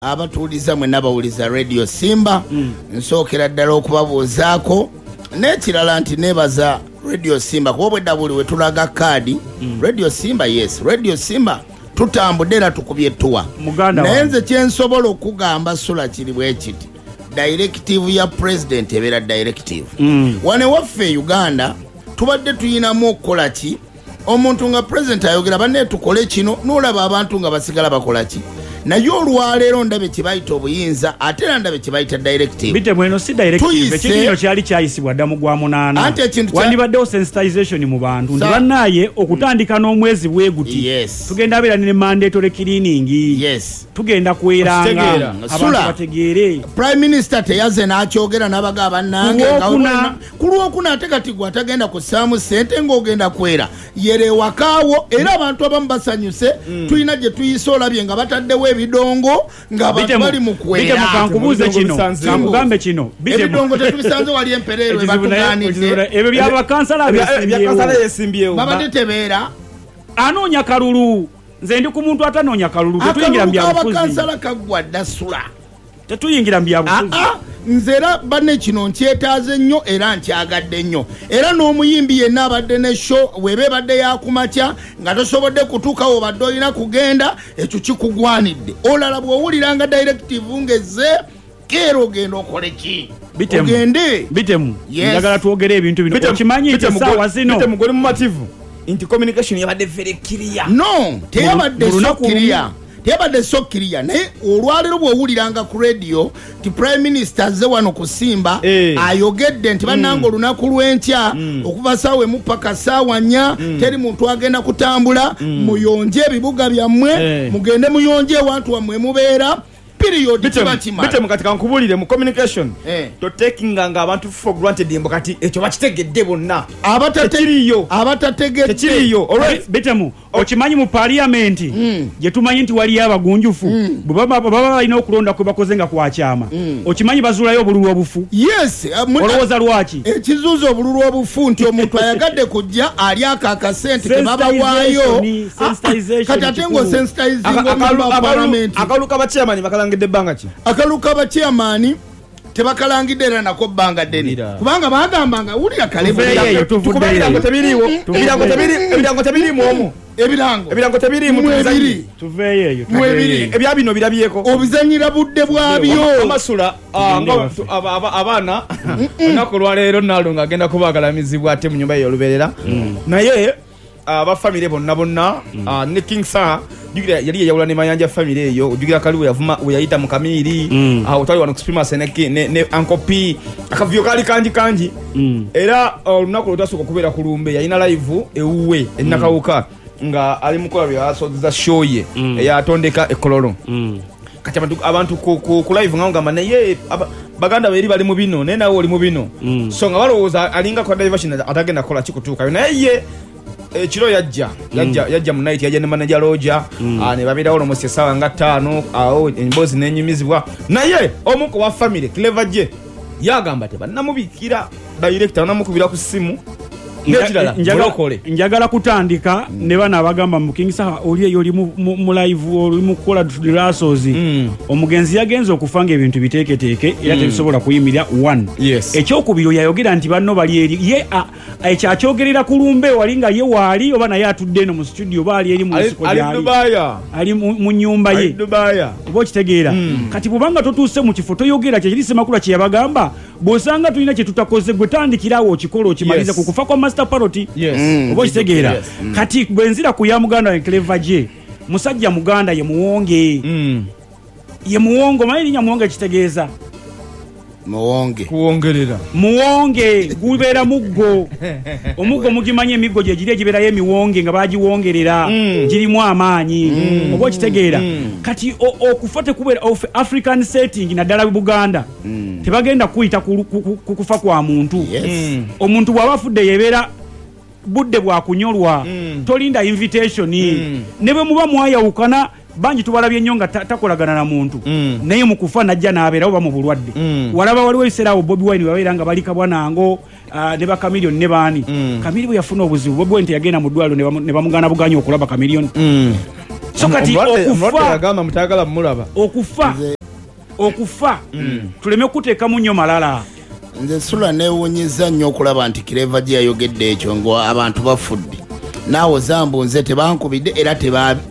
Abatuwuliza mwenna bawuliza Radio Simba, nsookera ddala okubabuuzaako. N'ekirala nti neebaza Radio Simba kuba obwedda buli we tulaga kaadi Radio Simba. Yes, Radio Simba tutambudde era tukubye ettuwa. Muganda Naye wange. Nze kyensobola okugamba Sula kiri bwe kiti: directive ya president ebeera directive. Wano ewaffe e Uganda tubadde tuyinamu okukola ki? Omuntu nga president ayogera, "Banne, tukole kino," n'olaba abantu nga basigala bakola ki. Naye olwaleero ndabe kye bayita obuyinza, ate era ndabe kye bayita directive. Bitemu, eno si directive. Tuyise- Ekintu kino kyali kyayisibwa dda mu gwa munaana. Anti ekintu Wandibaddewo sensitization mu bantu nti bannaaye, okutandika n'omwezi bwe guti, tugenda beera ne mandatory cleaning. Tugenda kweranga. Okitegeera. Abantu Sula. bategeere. Prime Minister teyaze n'akyogera n'abaga bannange Ku nga Lwokuna. Ku Lwokuna. Ate kati gwe atagenda kussaamu ssente ng'ogenda kwera, yera ewakaawo. Era abantu abamu basanyuse. Tulina gye tuyise, olabye nga bataddewo ebidongo ng'abantu bali mu kwera. Bitemu, kankubuuze kino, kankugambe kino. Bitemu. Ebidongo tetubisanze wali empereerwe. Ekizibu naye- Batugaanidde. ekizibu naye- ebyo byabakansala Ebya kansala yeesimbyewo. Babadde tebeera. Anoonya kalulu. Nze ndi ku muntu atanoonya kalulu. Tetuyingira mu Akalulu byabufuzi. k'abakansala kaggwa dda, Sula. Tetuyingira mu byabufuzi. Aa, nze era banne kino nkyetaaze nnyo era nkyagadde nnyo. Era n'omuyimbi yenna abadde ne show, weba ebadde yakumakya nga tosobodde kutuukawo obadde olina kugenda, ekyo kikugwanidde. Olala bw'owuliranga directive ngezze keera, ogenda okole ki? Bitemu. Ogende. Bitemu, Yes. njagala twogere ebintu bino. Okimanyi nti essaawa zino Bitemu, goli mumativu nti communication yabadde very clear? No, teyabadde Mu so lunaku clear, teyabadde so clear. Naye olwaleero bw'owuliranga ku radio nti Prime Minister azze wano ku Simba, ayogedde nti, "Bannange, olunaku lw'enkya okuva saawa 1 paka saawa 4 teri muntu agenda kutambula, muyonje ebibuga byammwe, mugende muyonje ewantu wammwe mubeera," period, kiba kimala. Bitemu, kati kankubulire, mu communication totakinganga abantu for granted mbu kati ekyo bakitegedde bonna. Tekiriiyo. Abatategedde. Tekiriiyo. Alright. Bitemu, okimanyi mu paliyamenti gye tumanyi nti waliyo abagunjufu, bwe baba balina okulonda kwe bakoze nga kwakyama, okimanyi bazuulayo obululu obufu? Yes. Olowooza lwaki? Ekizuuza obululu obufu nti omuntu ayagadde kujja ali ako akasente tebabawaayo. Sensitization. Kati ate kikulu. ng'osensitizinga palamenti. Akalulu kabachairman bakalangidde ebbanga ki? Akalulu kabachairman tebakalangidde era nako bbanga ddene, kubanga bagambanga wulira kale. Tuveeyo eyo, tuvuddeyo. Kuba ebirango tebiriiwo. Ebirango tebiriimu omwo. Ebirango Ebirango tebiriimu. Mwebiri. Tuveeyo eyo. Mwebiri. Ebya bino birabyeko. Obizanyira budde bwabyo. Amasula Tugende nga ewaffe. abaana olunaku olwaleero Nalongo agenda kubagalamizibwa ate mu nyumba ye olubeerera. Naye abafamire bonna bonna, ne King Saha, jjukira yali yeyawula ne Mayanja famire eyo. Ojjukira kali weyavuma weyayita mu kamiiri, otwali wano ku Supremacy ne Uncle P, akavuyo kaali kangi kangi. Era olunaku lwe twasooka okubeera ku lumbe, yalina live ewuwe enakawuka nga ali mukola byasozeza show ye eyatondeka ekololo. Kati abantu ku live nga ngamba naye baganda be eri bali mu bino, naye nawe oli mu bino. So nga balowooza alinga kwa diversion atagenda kukola kikutuukayo. Naye ye ekiro yajja mu night, yajja ne manager Roger, ne babeerawo almost essaawa nga 5 awo, emboozi nenyumizibwa. Naye omu ku wa family, Clever J, yagamba tebannamubikira director, banamukubira ku ssimu. N'ekirala, mulokole. Njagala kutandika ne bano abagamba mu King Saha oli eyo oli mu live, oli mu kukola rehearsals. Omugenzi yagenze okufa nga ebintu biteeketeeke era tebisobola kuyimirira. One. Ekyokubiri, yayogera nti banno bali eri ye ekyo akyogerera ku lumbe wali nga ye waali oba naye atudde eno mu studio oba ali eri mu nsiko Ali gyali. Dubaaya. Ali mu nyumba ye. Ali Dubaaya. Oba okitegeera? Kati bwobanga totuuse mu kifo, toyogera. Kyekiri Semakula kye yabagamba, bw'osanga tulina kye tutakoze, gwe tandikirawo okikola okimalize. Ku kufa kwa Master Parrot, oba okitegeera? Yes. Kati bwe nzira ku ya muganda wange Clever J, musajja muganda ye Muwonge. Ye Muwonge. Omanyi erinnya Muwonge kitegeeza? Muwonge. Kuwongerera. Muwonge gubeera muggo. Omuggo mugimanyi, emiggo gye giri egibeerayo emiwonge nga bagiwongerera, girimu amaanyi. Oba okitegeera? Kati okufa tekubeera African setting, naddala Buganda, tebagenda kuyita ku kufa kwa muntu. Omuntu bw'aba afudde, yebeera budde bwakunyolwa. Tolinda invitation. Ne bwe muba mwayawukana, bangi tubalabye nnyo nga takolagana na muntu, naye mu kufa najja n'abeerawo, ba mu bulwadde. Walaba waliwo ebiseera awo Bobi Wine babeera nga bali Kabwanango, ne Bakamiliyoni ne baani. Kamiri bwe yafuna obuzibu, Bobi Wine teyagenda mu ddwaliro ne bamugaana buganya okulaba Kamiliyoni. So kati Omulwadde okufa yagamba mutayagala mulaba. Okufa tuleme kuteekamu nnyo malala. Nze Sula neewunyizza nnyo okulaba nti Clever gye yayogedde ekyo nga abantu bafudde, naawe zambu nze tebankubidde era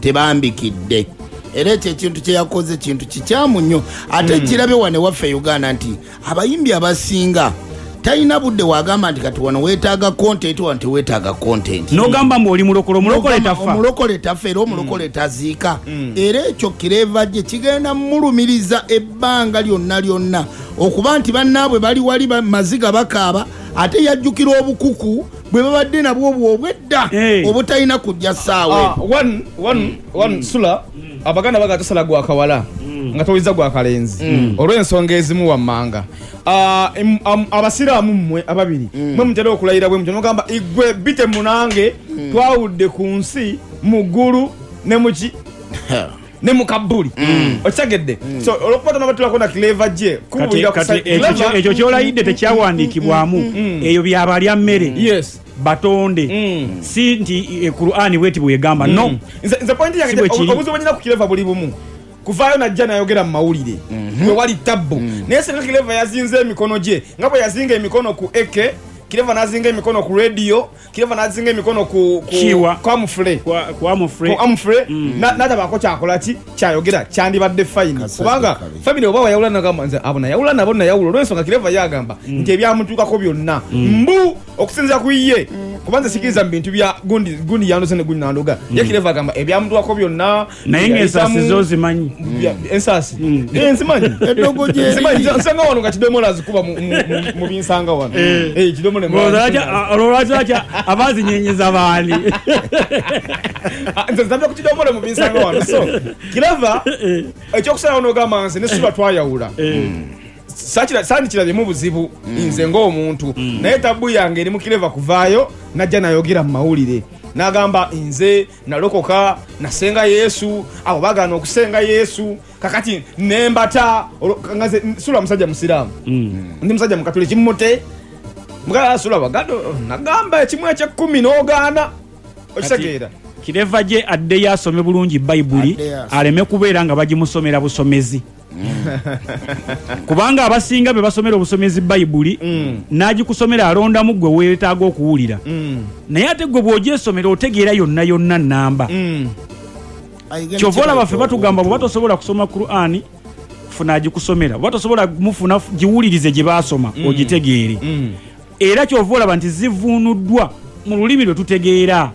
tebambikidde. Era ekyo ekintu kye yakoze kintu kikyamu nnyo. Ate kirabye wano ewaffe e Uganda nti abayimbi abasinga talina budde wagamba nti kati wano weetaaga content, wano teweetaaga content. N'ogamba mbu oli mulokole, omulokole tafa. Omulokole tafa era omulokole taziika. Era ekyo Clever gye kigenda mulumiriza ebbanga lyonna lyonna okuba nti bannaabwe bali wali maziga bakaaba, ate yajjukira obukuku bwe babadde nabwo obwo obwedda obutalina kujja ssaawa. One Sula, Abaganda baga tosala gwa kawala nga towuliriza gwa kalenzi olw'ensonga ezimu wammanga. Abasiraamu mmwe ababiri mwe mutera okulayira bwe mutyo nogamba igwe bite munange twawudde ku nsi mu ggulu ne muki ne mu kabbuli. Okitegedde? So olwokuba tonabatulako na Clever gye Kati kubuulira ku kati ekyo kyolayidde tekyawandiikibwamu, eyo byabalya mmere. Batonde si nti Qur'ani bweti bwegamba, no. Nze point yange Si bwe kiri. Obuzibu bwe ku Clever buli bumu. Kuvaayo najja n'ayogera mu mawulire bwe wali tabbu, naye singa Clever yazinze emikono gye nga bwe yazinga emikono ku eke, Clever n'azinga emikono ku radio, Clever n'azinga emikono ku Kiwa. ku Amufure. Ku Amufure. Ku Amufure, n'atabaako kyakola ki kyayogera, kyandibadde fine. Kasajja Kubanga kabi. family oba wayawula nagamba nze abo nayawula nabo nayawula olw'ensonga Clever yagamba nti ebyamutuukako byonna mbu okusinziira ku ye, kuba nze sikiriza mu bintu bya gundi, gundi yandose ne gundi nandoga. Ye Clever agamba ebyamutuukako byonna Naye ng'ensaasi zo zimanyi. Ensaasi. Nzimanyi. Eddogo gye Nzimanyi. liri. Nsanga wano nga kidomola azikuba mu binsanga wano. Kidomola Olwo emwanyi. lwaki abazinyenyeza baani? Nze nzambye ku kidomola mu binsanga wano. So, Clever, ekyokusalawo n'ogamba nze ne Sula twayawula. Sandikirabyemu buzibu nze ng'omuntu. Naye tabu yange eri mu Clever kuvaayo najja nayogera mu mawulire. N'agamba nze nalokoka, nasenga Yesu, abo bagaana okusenga Yesu, kakati nembata, nga nze Sula musajja musiraamu. Ndi musajja mukatuliki mute. Mugala Sula baganda, nagamba ekimu eky'ekkumi n'ogaana. Okitegeera? Clever gye addeyo asome bulungi Bayibuli, Addeyo asome. aleme kubeera nga bagimusomera busomezi. Kubanga abasinga be basomera obusomezi Bayibuli, n'agikusomera alondamu gwe weetaaga okuwulira. Naye ate gwe bw'ogyesomera otegeera yonna yonna nnamba. Ayigenda Kyova olaba ffe kibaita batugamba obuntu. bw'oba tosobola kusoma Qur'ani, funa agikusomera. Bw'oba tosobola mufuna, giwulirize gye baasoma, ogitegeere. Era kyova olaba nti zivuunuddwa mu lulimi lwe tutegeera.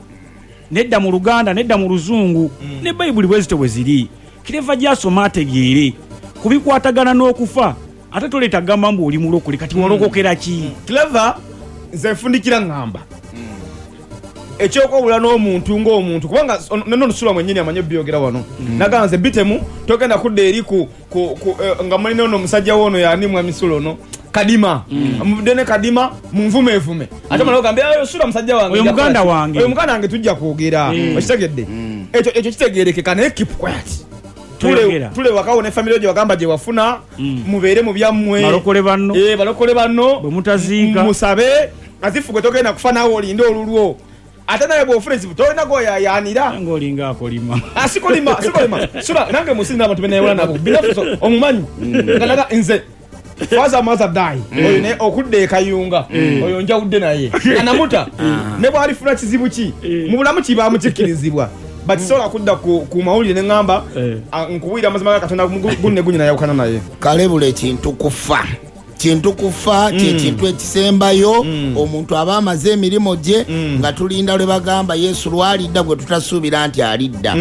Nedda mu Luganda, nedda mu Luzungu, ne Bayibuli bwe zityo bwe ziri. Clever gy'asoma ategeere ku bikwatagana n'okufa, ate toleeta kugamba mbu oli mulokole, kati walokokera ki? Clever, nze nfundikira ŋŋamba. Ekyokwawula n'omuntu ng'omuntu, kubanga nno Sula mwennyini amanyi obyogera wano. Nagamba nze bitemu, togenda kudda eri ku nga mulina ono omusajja wo ono y'ani mwami Sula ono? Kadima. Muvudde ne Kadima, munvumeevume. Ate omala ogambe, Sula musajja wange, Oyo nja muganda kukola ki? wange. Oyo muganda wange tujja kwogera. Okitegedde? Ekyo kitegeerekeka, naye keep quiet. Toyogera. Tule wakawo ne family gye wagamba gye wafuna, mubeere mu byammwe. Balokole banno. Balokole banno. Bwe mutaziika. Musabe, azifu gwe togenda kufa naawe olinde olulwo. Ate naye bw'ofuna ekizibu tolina gw'oyaayaanira. Ng'olinga akolima. Sikolima, sikolima. Sula, nange mu nsi nina abantu be neewola nabo. Binafuso, omumanyi. Nga naga nze, father mother die. Oyo naye okudda e Kayunga, oyo njawudde naye. Anamuta. Ne bw'alifuna kizibu ki? Mu bulamu kibaamu kikkirizibwa. But sobola kudda ku mawulire ne ŋŋamba, nkubuulira amazima ga Katonda, gunne gunye nayawukana naye. Kalebule kintu kufa. Kintu kufa kye kintu ekisembayo. Omuntu aba amaze emirimu gye, nga tulinda lwe bagamba Yesu lwalidda gwe tutasuubira nti alidda.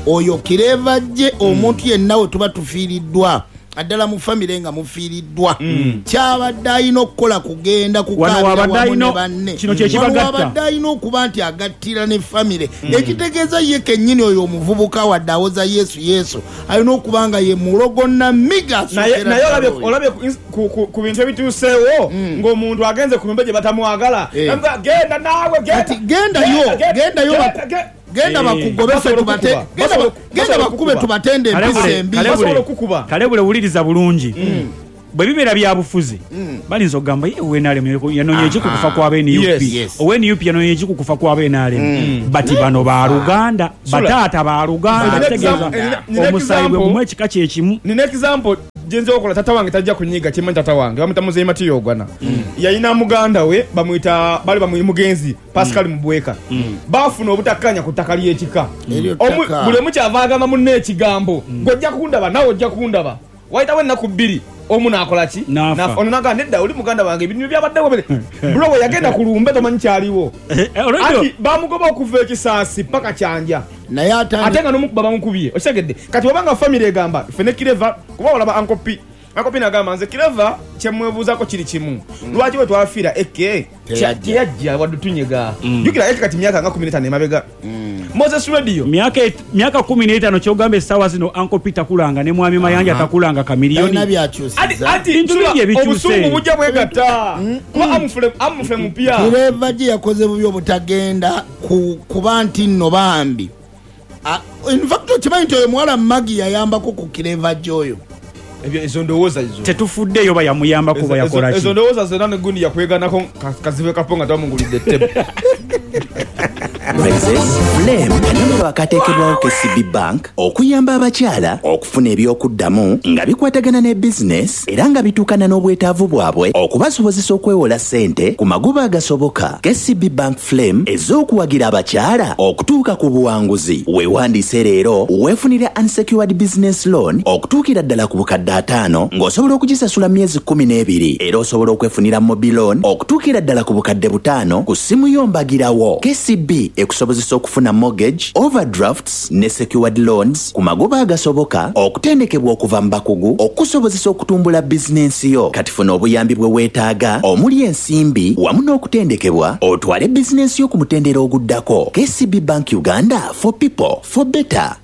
Oyo Clever gye omuntu yenna we tuba tufiiriddwa, naddala mu famire nga mufiiriddwa, kyabadde alina okukola kugenda Wano kukaabira wabadde wamu ne alina banne. kino kye Wano kibagatta. wabadde alina okuba nti agattira ne famire. Ekitegeeza ye kennyini oyo omuvubuka wadde awoza Yesu Yesu, alina okuba nga ye mulogo namiga Naye, asookera naye ddala oyo. olabye ku bintu ebituuseewo, ng'omuntu agenze ku lumbe gye batamwagala. Namugamba, genda naawe, genda. Kati gendayo, Genda, genda, gendayo genda, genda. genda bakugobe ffe Basobola tubate, okukuba. genda Basobola bakube okukuba. tubatende empisa embi. Basobola okukuba. Kalebule wuliriza bulungi. Bwe bibeera byabufuzi, bayinza okugamba ye owa NRM yanoonya eki ku kufa kwa ba NUP? Owa NUP yanoonya eki ku kufa kwa ba NRM? But bano baluganda, bataata baluganda, kitegeeza omusaayi gwe gumu, ekika kye kimu. Nina example gyenza okola. Tata wange tajja kunyiga, kimanyi tata wange bamwita Muzeyi Matiya Ogwana. Yalina muganda we bamwita bali bamwi mugenzi Pascal Mubweka. Bafuna obutakkaanya ku ttaka ly'ekika. Eryo Omu- ttaka. Buli omu kyava agamba munne ekigambo, "Gwe ojja kundaba, naawe ojja kundaba." Wayitawo ennaku 2, omu n'akola ki? N'afa. Ono n'agamba, "Nedda, oli muganda wange, ebintu byabaddewo bere." Bro, we yagenda ku lumbe tomanyi kyaliwo. Already Ati bamugoba okuva ekisaasi paka Kyanja. Naye Ate nga nomukuba bamukubye, okitegedde? Kati wabanga family egamba ffe ne Kireva, kuba olaba Uncle P, Uncle P nagamba, "Nze Kireva kyemwebuuzaako kiri kimu, lwaki bwe twafiira eke Teyajja. teyajja wadde tunyega?" Jjukira eke kati myaka nga 15 emabega, Moses Radio. Myaka 15, kyogamba essaawa zino Uncle Peter kulanga ne Mwami Mayanja takulanga Talina Kamiliyoni. byakyusiza. Anti Bintu Sula, bingi ebikyuse. Obusungu bujja bwegatta kuba amufule mupya. Kireva gye yakoze bubi obutagenda kuba nti nno bambi. In fact, okimanyi nti oyo muwala Magi yayambako ku Kireva gyoyo? Ebyo ezo ndowooza zo. Tetufuddeeyo ba yamuyambako ba yakola Ezo ki. ndowooza zonna negundi yakweganako kazibe kapo nga twamugulidde ettebe. Princess Flame kanamero akateekebwawo KCB Bank okuyamba abakyala okufuna ebyokuddamu nga bikwatagana ne bizinesi era nga bituukana n'obwetaavu bwabwe, okubasobozesa okwewola ssente ku magoba agasoboka. KCB Bank Flame ez'okuwagira abakyala okutuuka ku buwanguzi. Weewandiise leero weefunire unsecured business loan okutuukira ddala ku bukadde 50 ng'osobola okugisasula myezi 12, era osobola okwefunira mobile loan okutuukira ddala ku bukadde 5 ku ssimu yo mbagirawo. KCB ekusobozesa okufuna mortgage, overdrafts ne secured loans ku magoba agasoboka, okutendekebwa okuva mu bakugu okusobozesa okutumbula bizinensi yo. Kati funa obuyambi bwe weetaaga omuli ensimbi wamu n'okutendekebwa, otwale bizinensi yo ku mutendera oguddako. KCB Bank Uganda, for people, for better.